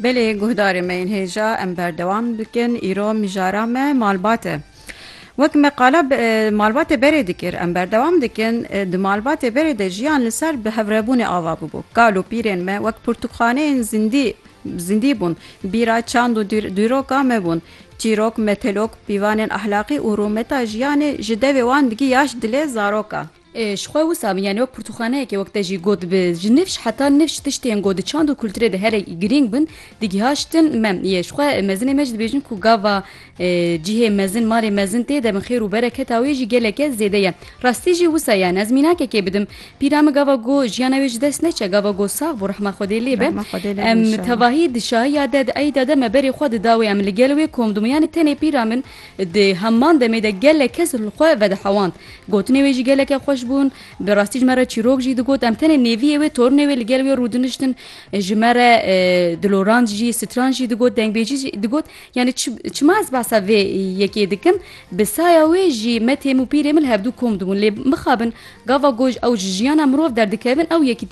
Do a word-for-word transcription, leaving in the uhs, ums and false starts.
Belê, guhdarê me yên hêja, em berdewam dikin. Îro mijara me malbat e. Wek me qala bi, e, malbatê berê dikir, em berdewam dikin. E, di malbatê berê de jiyan li ser bi hevrebûnê ava bûbû. Kal û pîrên me wek pirtûkxaneyên zindî, zindî bûn. Bîra çand û dîr-, dîroka me bûn. Çîrok, metelok, pîvanên ahlaqî û rûmeta jiyanê ji devê wan digî yaş dilê zaroka. E, ji xwe wisa bin, yanî wek pirtûkxaneyekê, wek te jî got, bi ji nifş heta nifş tiştên ku di çand û kulturê de here girîng bin, digihaştin me. Yê ji xwe mezinê me jî dibêjin ku gava, e, cihê mezin, malê mezin tê de bin, xêr û bereketa wê jî geleke zêde ye. Rastî jî wisa ye. Ez mînakekê bidim. Pîra min gava ku jiyana wê ji dest neçe, gava ku sax bû, rehma Xwedê lê be. Rehma Xwedê lê be, Em înşallah. Tevahî di şahiya de, di eyda de me berê xwe dida wê, em li gel wê kom dibûn. Yanî tenê pîra min di heman demê de gelek kes li xwe vedihewand. Gotinê wê jî geleke xweş bûn. Bi rastî ji me re çîrok jî digot. Em tenê nêviyê wê, tornê wê li gel wê rûdiniştin, ji me re, e, dilorand jî, stran jî digot, dengbêjî jî digot. Yanî çi-, çima ez behsa vê yekê dikim? Bi saya wê jî me, têm û pîrê min li hevdû kom dibûn. Lê mixabin gava ku ew ji jiyana mirov derdikevin, ew yekîtî